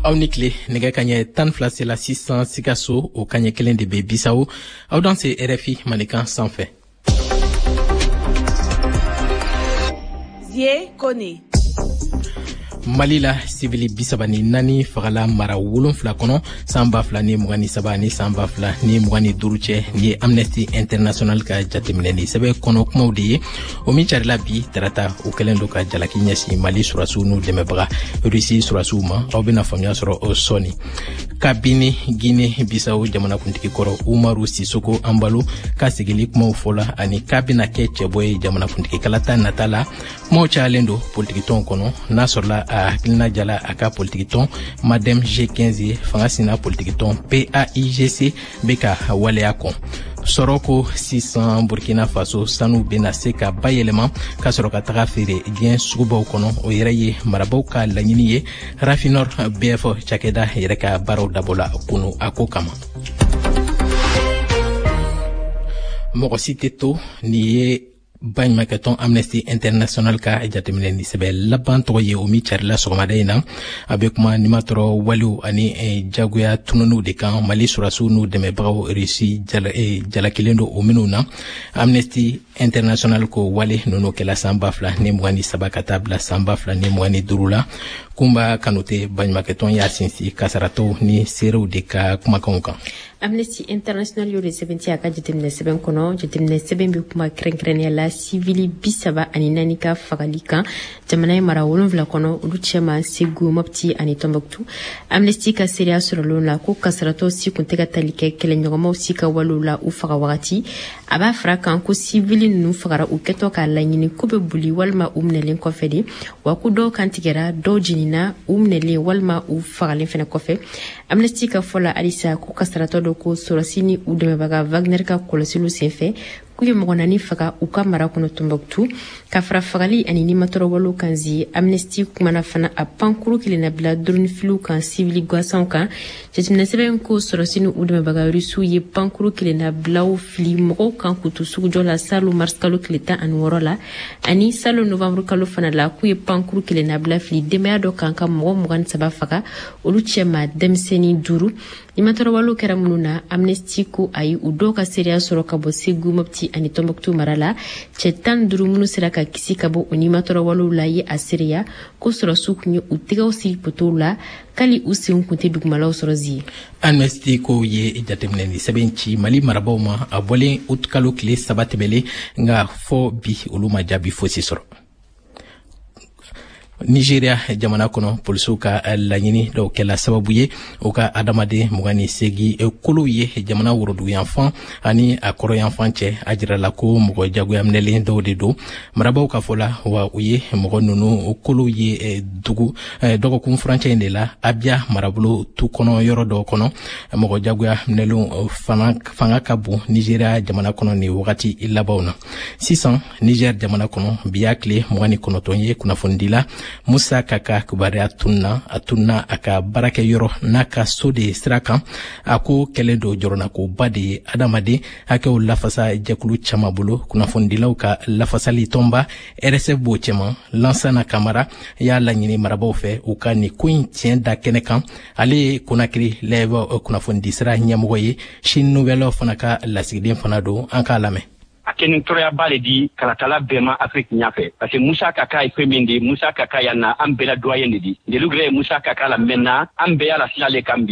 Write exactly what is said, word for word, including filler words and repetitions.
Aw ni tile. Nɛgɛ kaɲɛ tan fila sela sisan Sikaso, o kaɲɛ kelen de bɛ Bisawo. Aw dan se R F I Mandenkan sanfɛ. Zie Kone. Mali la, sibili bisaba ni naani fagala mara wolonfila kɔnɔ san ba fila ni mugan ni saba ni san ba fila ni mugan ni duuru cɛ. Nin ye Amnesty International ka jateminɛli sɛbɛn kɔnɔ kumaw de ye, o min carila bi tarata. O kɛlen don ka jalaki ɲɛsin Mali surasiw n'u dɛmɛbaga Rusi surasiw ma. Aw bena faamuya sɔrɔ o sɔɔni. Kabini Guinée Bisawo jamanakuntigi kɔrɔ Umaru Sisoko Anbalo ka sigili kumaw fɔla ani k'a bena kɛ cɛbɔ ye jamanakuntigi kalata nata la, kumaw cayalen don politikitɔnw kɔnɔ. N'a sɔrɔla a hakilina jala a ka politikitɔn MADEM G quinze ye, fanga sina politikitɔn P A I G C bɛ ka waleya kɔn. Sɔrɔ ko sisan, Burkina Faso sanu bena se ka bayɛlɛma ka sɔrɔ ka taga feere diɲɛ sugubaw kɔnɔ. O yɛrɛ ye marabaw ka laɲini ye. Rafinor B F cakɛda yɛrɛ ka baaraw dabɔla kunu a ko kama. Mɔgɔ si tɛ to. Nin ye baɲumankɛtɔn Amnesty International ka jateminɛni sɛbɛ laban tɔgɔ ye, o min carila sɔgɔmada in na. A bɛ kuma nimatɔrɔ walew ani eh, jagoya tununiw de kan, Mali surasiw n'u dɛmɛbagaw Rusi eh, jalakilen don o minw na. Amnesty International ko wale ninnu kɛla san ba fila ni mugan ni saba ka taa bila san ba fila ni mugan ni duuru la. Kunba Kanute, baɲumankɛtɔn y'a sinsin kasaratɔw ni seerew de ka kumakanw kan. Amnesty International y'o de sɛbɛnti a ka jateminɛ sɛbɛn kɔnɔ. Jateminɛ sɛbɛn bɛ kuma kɛrɛnkɛrɛnnenya la sivili bi saba ani naani ka fagali kan jamana ye mara wolonfila kɔnɔ, olu cɛma Segu, Mɔpti ani Tɔnbɔkutu. Amnesty ka seereya sɔrɔlenw la ko kasaratɔ si kun tɛ ka tali kɛ kɛlɛɲɔgɔnmaw si ka walew la u faga wagati. A b'a fara kan ko sivili ninnu fagara u kɛtɔ k'a laɲini ko bɛ boli walima u minɛlen kɔfɛ de, wa ko dɔw kan tigɛra, dɔw jenina u minɛlen walima u fagalen fɛnɛ kɔfɛ. Amnesty ka fɔ la halisa ko kasaratɔ dɔ ko sɔrɔsi ni u dɛmɛbaga Wagner ka kɔlɔsiliw senfɛ, k'u ye mɔgɔ naani faga u ka mara kɔnɔ Tɔnbɔkutu. Ka fara fagali ani nimatɔrɔwalew kan zi, Amnesty kumana fana a pankuru kelennabila dronifiliw kan sivili gansanw kan. Jateminɛ sɛbɛn ko sɔrɔsi ni u dɛmɛbaga Rusiw ye pankuru kelennabilaw fili mɔgɔw kan k'u to sugujɔ la salo mars kalo tile tan ani wɔɔrɔ la, ani salo novembre kalo fana la, k'u ye pankuru kelennabila fili denbaya dɔ kan ka mɔgɔ mugan ni saba faga, olu cɛma denmisɛnnin duuru. Nimatɔrɔwalew kɛra minnu na, Amnesty ko ayi, u dɔw ka seereya sɔrɔ ka bɔ Segu, Mɔpti ani Tɔnbɔkutu mara la. Cɛ tan duuru minnu sera ka kisi ka bɔ o nimatɔrɔwalew la ye a seereya ko sɔrɔsiw kun ye u tɛgɛw siri potow la k'ali u senw kun tɛ dugumalaw sɔrɔ zi. Amnesty ko ye jateminɛni sɛbɛn ci Mali marabaw ma a bɔlen uti kalo tile saba tɛmɛlen, nka fɔ bi olu ma jaabi fosi sɔrɔ. Nigeria jamana kɔnɔ, polisiw ka laɲini dɔw kɛla sababu ye u ka adamaden mugan ni segi kolow ye jamana woroduguyanfan ani a kɔrɔyanfan cɛ. A jirala ko mɔgɔ jagoya minɛlen dɔw de don, marabaw ka fɔ la. Wa u ye mɔgɔ nunu kolow ye dugu dɔgɔkun furancɛ in de la, Abia marabolo tu kɔnɔ yɔrɔ dɔw kɔnɔ. Mɔgɔ jagoya minɛlenw fanga ka bon Nigeria jamana kɔnɔ nin wagati labanw na. Sisan, Niger jamana kɔnɔ, bi y'a tile mugan ni kɔnɔntɔn ye kunnafonidila Musa Kaka kibaruya tunna. A tunna a ka baarakɛyɔrɔ n'a ka so de sira kan. A ko kɛlen don jɔrɔnakoba de ye adamaden hakɛw lafasa jɛkulu caman bolo, kunnafonidilaw ka lafasali tɔnba R S F b'o cɛma. Lansana Kamara y'a laɲini marabaw fɛ u ka nin ko in tiɲɛ da kɛnɛ kan. Ale ye Konakiri Live kunnafonidisira ɲɛmɔgɔ ye, Chine Nouvelle fana ka lasigiden fana don. An k'a lamɛn. A kɛ ni tɔɔrɔyaba le di kalatala bɛɛ ma Afiriki ɲafɛ, parce que Musa Kaka ye fɛn min di, Musa Kaka yan na, an bɛɛ la doyen de di. Ndelu yɛrɛ ye Musa Kaka la mɛnna, an bɛɛ y'a la sila le kan bi.